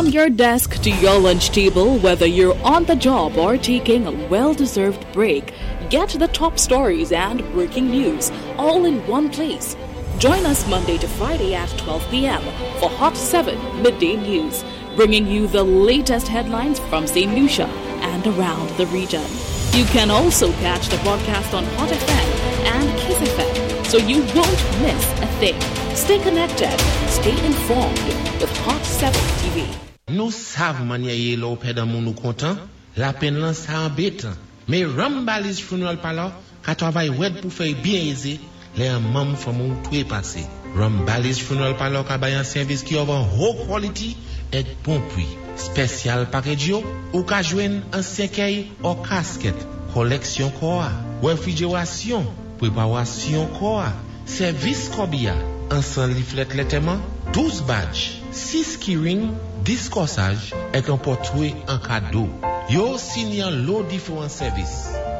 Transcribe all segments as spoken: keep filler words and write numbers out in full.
From your desk to your lunch table, whether you're on the job or taking a well deserved break, get the top stories and breaking news all in one place. Join us Monday to Friday at twelve p m for Hot seven Midday News, bringing you the latest headlines from Saint Lucia and around the region. You can also catch the broadcast on Hot F M and Kiss F M, so you won't miss a thing. Stay connected, stay informed with Hot seven T V. Nou sav mannyè yé lè ou pèd an moun ou kontan, lapenn lan sa anbétan. Mé Rambali's Funeral Parlor ka twavay wèd pou fè byen ézé lè an manm fanmi ou twé pasé. Rambali's Funeral Parlor ka bay an sèvis ki of an wo quality èk bon pwi. Special package yo, ou ka jwenn an sèkèy ou casket, koleksyon kò a, wefrijerasyon, pwépawasyon kò a, sèvis kòbiya, an san leaflet lantèman, douz badge, sis keyring, dis kòsaj, èk an pòtwé an kado. Yo sini an lo diféwan sèvis.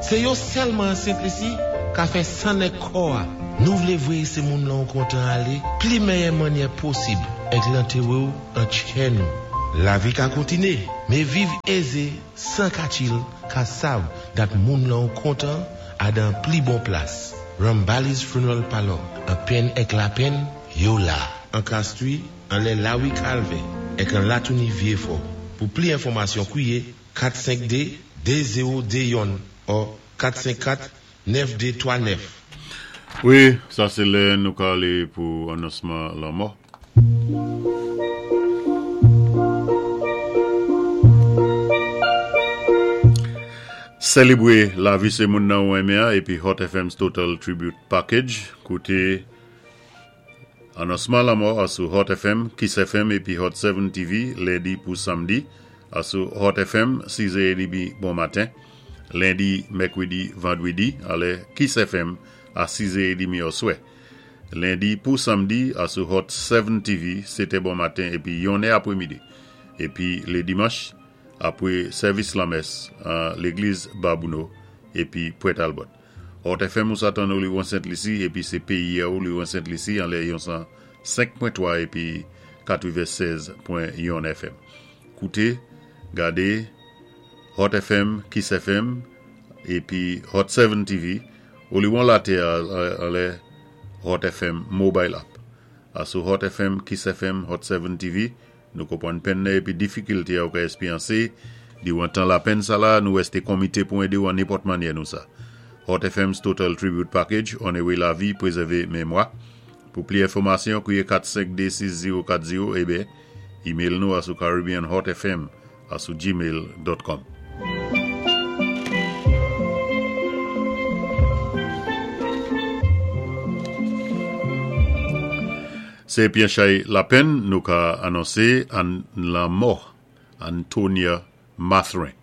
Sé yo sèlman an Sent Lisi ka fè sann èk kò a. Nou vlé voyé sé moun lan ou kontan alé, pli méyè mannyè posib, èk lantéwé ou an tchè nou. Lavi ka kontiné, mé viv ézé, san katchil, ka sav dat moun lan ou kontan a dan pli bon plas. Rambali's Funeral Parlor, an penn èk lapenn, yo la. An Castries, an lè Lawi Calvé, èk an Latouni Vieux-Fort. Pou pli enfòmasyon kwiyé kat senk de de zewo de youn ou kat senk kat nèf de twa nèf. Wi, sa sé lè nou ka alé pou anonsman lanmò. Sélébwé lavi sé moun nan ou enmen épi Hot F M's Total Tribute Package. Kouté anonsman lanmò asou Hot F M, Kiss F M épi Hot sept T V lendi pou samdi. Asou Hot F M sis è dmi bon maten. Lendi, mèkwédi, vandwédi, alè Kiss F M a sis è dmi oswè. Lendi pou samdi asou Hot sept T V, sétè bon maten épi yonnè apwémidi. Épi lé dimanch apwé sèvis lanmès an légliz Babouno épi Pwent Albert. Hot F M ou sa tann Oliwon Sent Lisi épi sé péyi ou Oliwon Sent Lisi an lè yon san senk pwen twa épi katwennsèz pwen youn F M. Kouté, gadé Hot F M, Kiss F M épi Hot sept T V Oliwon latè an lè Hot F M Mobile App. Asou Hot F M, Kiss F M, Hot sept T V, nou konpwann penn épi difikilté ou ka espwyansé, diwan tan lapenn sa la, nou wèsté komité pou édé ou an nenpòt mannyè nou sa. Hot F M's Total Tribute Package, onowé lavi, pwézèvé mémwa. Pou pli enfòmasyon, kwiyé kat senk de sis zewo kat zewo ébé, email nou asou caribbeanhotfm asou gmail dot com. Sé byen chay lapenn nou ka anonsé an lanmò Antonia Mathurin.